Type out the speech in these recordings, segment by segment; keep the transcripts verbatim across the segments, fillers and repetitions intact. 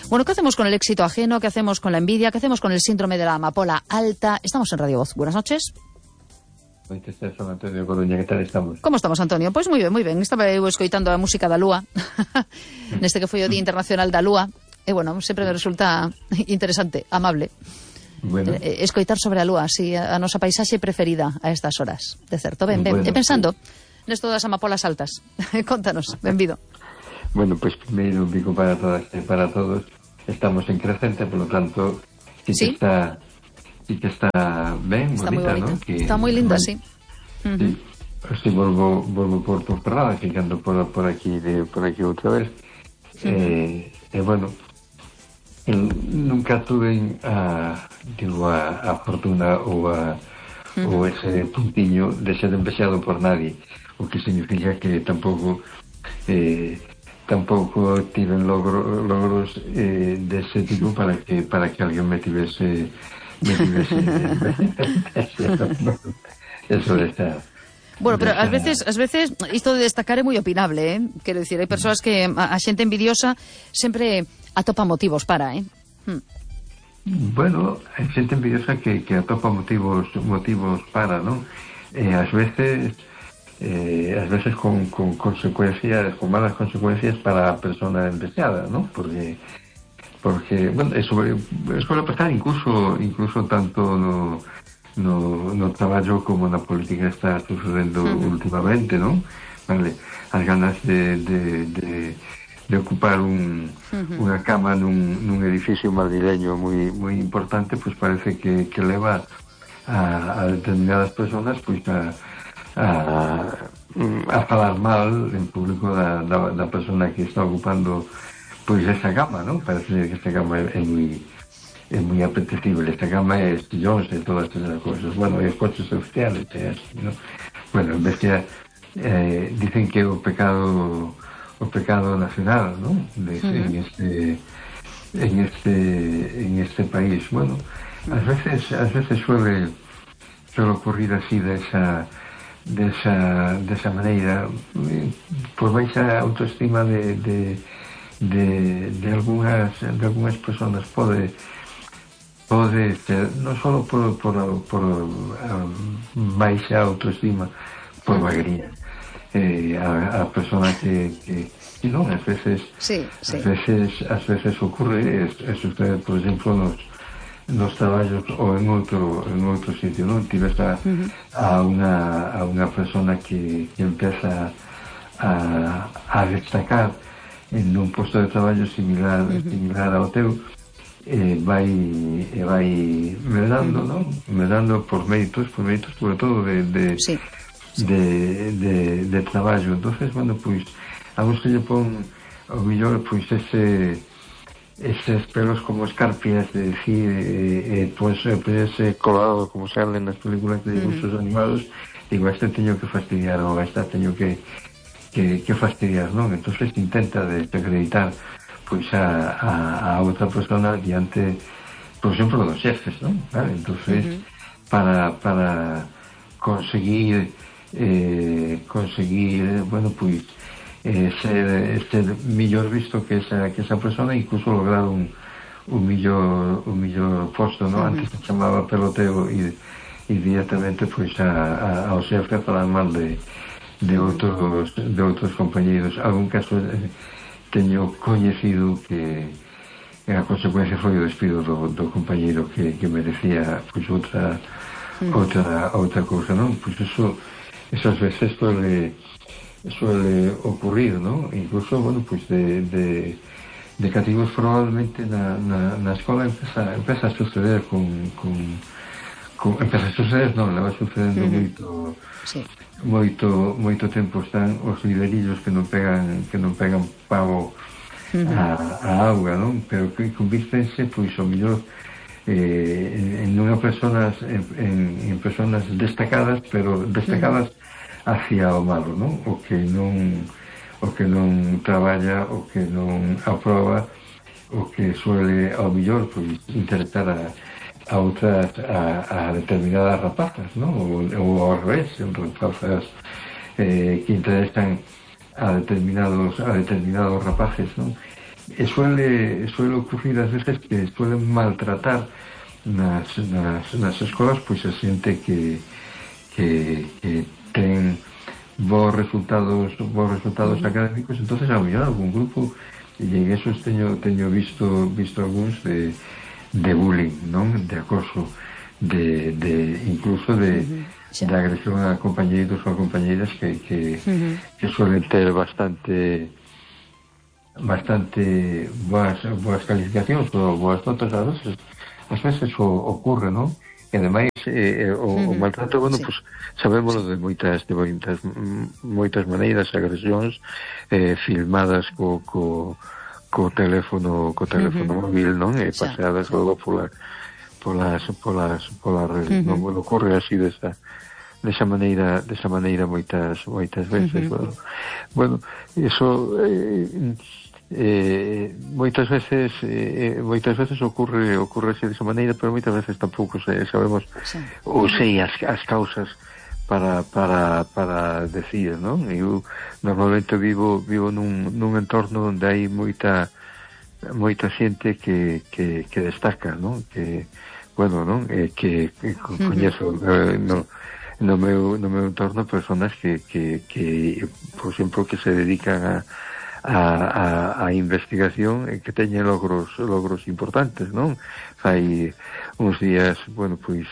Bueno, ¿qué hacemos con el éxito ajeno? ¿Qué hacemos con la envidia? ¿Qué hacemos con el síndrome de la amapola alta? Estamos en Radio Voz. Buenas noches. Antonio Coruña, ¿qué tal estamos? Como estamos, Antonio? Pois moi ben, moi ben. Estaba eu escoitando a música da Lúa neste que foi o Día Internacional da Lúa. E, bueno, sempre me resulta interesante, amable. Bueno. Eh, escoitar sobre a Lúa, así, a nosa paisaxe preferida a estas horas. De certo, ben, ben. Bueno, e pensando pues... nesto das amapolas altas. Contanos, benvido. Bueno, pois pues, primeiro un pico para todas e para todos. Estamos en crecente, por lo tanto, sí, ¿Sí? que está... sí que está ben, está bonita, bonita, ¿no? Que, está moi linda, bueno, sí. Uh-huh. Sí, así volvo, volvo por Ponferrada, ficando por, por aquí de, por aquí outra vez. Uh-huh. eh, e eh, bueno, el, nunca tuve a, digo, a, a fortuna ou a uh-huh. ou ese puntiño de ser empexado por nadie, o que significa que tampouco eh, tampouco tiven logro, logros eh, dese tipo para que para que alguén me tivese me tivese eso de estar. Bueno, pero ás veces, ás veces isto de destacar é moi opinable, eh? Quero dicir, hai persoas que a, a xente envidiosa sempre atopa motivos para, eh? Hmm. Bueno, hai xente envidiosa que, que atopa motivos motivos para, non? Eh, ás veces eh, ás veces con, con consecuencias, con malas consecuencias para a persona envidiada, non? Porque porque, bueno, eso suele pasar incluso incluso tanto no no, no traballo como na política está sucedendo uh-huh. últimamente, non? Vale, as ganas de, de, de, de ocupar un, uh-huh. unha cama nun, nun edificio madrileño moi, moi importante, pois pues parece que, que leva a, a determinadas personas pois pues a, a, a falar mal en público da, da, da persona que está ocupando pois esa cama, non? Parece que esta cama é, é moi é moi apetecible, esta cama é estillóns e todas esas cousas, bueno, e coches oficiales e así, ¿no? Bueno, en vez que eh, dicen que o pecado o pecado nacional, ¿no? De, uh-huh. en este en este en este país, bueno, ás veces ás veces suele suele ocurrir así de esa de esa, de esa maneira, por baixa autoestima de de de, de algunhas de algunhas personas pode pode ser, non só por, por, por um, baixa autoestima, por vagría. Eh, a, a persona que, que, que non, ás veces, sí, sí. ás veces, ás veces ocurre, é, é sucede, por exemplo, nos, nos traballos ou en outro, en outro sitio, non? Tives a, uh-huh. a, unha, a unha persona que, que empeza a, a destacar en un posto de traballo similar, uh-huh. similar ao teu, e vai e vai medando, non? Medando por méritos, por méritos sobre todo de de, sí, sí. de, de, de traballo. Entonces, bueno, pois a vos que lle pon ao millor pois ese eses pelos como escarpias de decir e, e pois ese colado como salen nas películas de dibujos uh-huh. animados, digo, este teño que fastidiar ou esta teño que que, que fastidiar, non? Entonces intenta de, de acreditar pois a, a, a outra persona diante, por exemplo, dos xefes, non? Vale? Entonces, uh-huh. para, para conseguir eh, conseguir, bueno, pois eh, ser, ser millor visto que esa, que esa persona, incluso lograr un, un millor un millor posto, non? Uh-huh. Antes se chamaba peloteo e, e directamente pois a, a, ao xefe a falar mal de, de outros de outros compañeiros. Algún caso eh, teño coñecido que a consecuencia foi o despido do, do compañeiro que, que merecía pois outra mm. outra outra cousa, non? Pois eso esas veces suele suele ocurrir, non? Incluso, bueno, pois de, de, de cativos probablemente na, na, na escola empeza, empeza a suceder con, con, con empeza a suceder, non, leva sucedendo mm-hmm. moito sí. moito moito tempo. Están os liderillos que non pegan que non pegan pavo uh-huh. a, a auga, non? Pero que convírtense pois o mellor eh, en unha personas en, en, en personas destacadas, pero destacadas uh-huh. hacia o malo, non? O que non o que non traballa, o que non aproba, o que suele ao mellor pois interesar a a outras, a, a determinadas rapazas, ¿no? O, o ao revés, rapazas eh, que interesan a determinados a determinados rapaces, ¿no? e suele, suele ocurrir ás veces que suelen maltratar nas, nas, nas escolas pois a xente que, que, que ten bons resultados bons resultados uh-huh. académicos, entonces a mellor algún grupo, e en esos teño, teño visto visto algúns de, de bullying, non? De acoso, de, de incluso de, uh-huh. de agresión a compañeiros ou a compañeiras que, que, uh-huh. que suelen ter bastante bastante boas, boas calificacións ou boas notas, a veces, as veces o, ocurre, non? E ademais eh, o, uh-huh. o maltrato, bueno, sí. pues sabémoslo de moitas de moitas, moitas maneiras, agresións eh, filmadas co, co, co teléfono co teléfono uh-huh. móvil, non? E paseadas sí. logo pola, polas polas polas redes, uh-huh. non? Bueno, ocurre así desa desa maneira, desa maneira moitas moitas veces, uh-huh. bueno. Bueno, eso eh, Eh, moitas veces eh, moitas veces ocurre ocurre así desa maneira, pero moitas veces tampouco se, sabemos sí. ou sei as, as causas para para para decir, non? Eu normalmente vivo vivo nun, nun entorno onde hai moita moita xente que, que, que destaca, non? Que, bueno, non? Eh, que, que coñezo eh, no, no meu no meu entorno personas que, que, que por exemplo, que se dedican a A, a, a investigación e que teñen logros logros importantes, non? Fai uns días, bueno, pois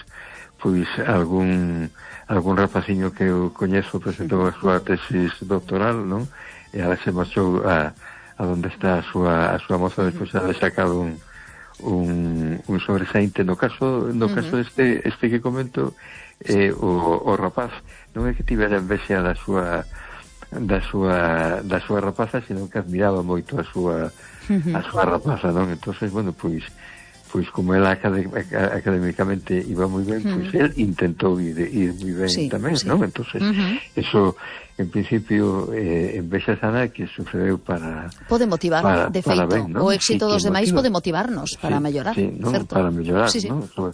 pois algún algún rapaciño que eu coñezo presentou a súa tesis doctoral, non? E ahora se marchou a, a onde está a súa, a súa moza despois de haber sacado un un, un sobresaínte. No caso no caso este este que comento, eh, o, o rapaz non é que tivera envexa da súa da súa da súa rapaza, sino que admiraba moito a súa uh-huh. a súa rapaza, non? Entonces, bueno, pois pois como ela académicamente iba moi ben, uh-huh. pois el intentou ir, ir moi ben sí, tamén, sí. non? Entonces, uh-huh. eso en principio eh, en vexa sana que sucedeu para pode motivar, para, de feito, ben, ¿no? O éxito sí, dos demais pode motivarnos para sí, mellorar, sí, ¿no? certo? Para mellorar, sí, sí. ¿no? Sobre,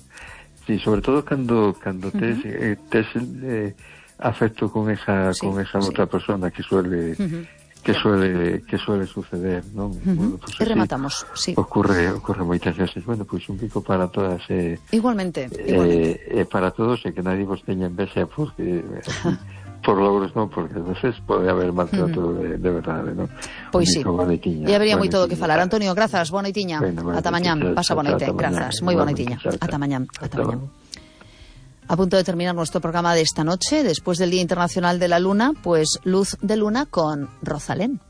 sí, sobre todo cando cando tes uh-huh. eh, tes eh, afecto con esa sí, con esa sí. outra persona que suele uh-huh. que suele que suele suceder, ¿no? Uh-huh. Bueno, pues, e rematamos, sí. Ocurre ocurre moitas veces. Bueno, pois pues, un pico para todas eh, igualmente, eh, igualmente. Eh, para todos e que nadie vos teña envexa porque por logros non, porque a veces pode haber maltrato uh-huh. de, de verdade, ¿no? Pois sí. E habería moito do que falar. Antonio, grazas, boa noitiña. Bueno, bueno, ata mañán, pasa boa noite. Grazas, moi boa noitiña. Ata mañán, ata mañán. A punto de terminar nuestro programa de esta noche, después del Día Internacional de la Luna, pues Luz de Luna con Rosalén.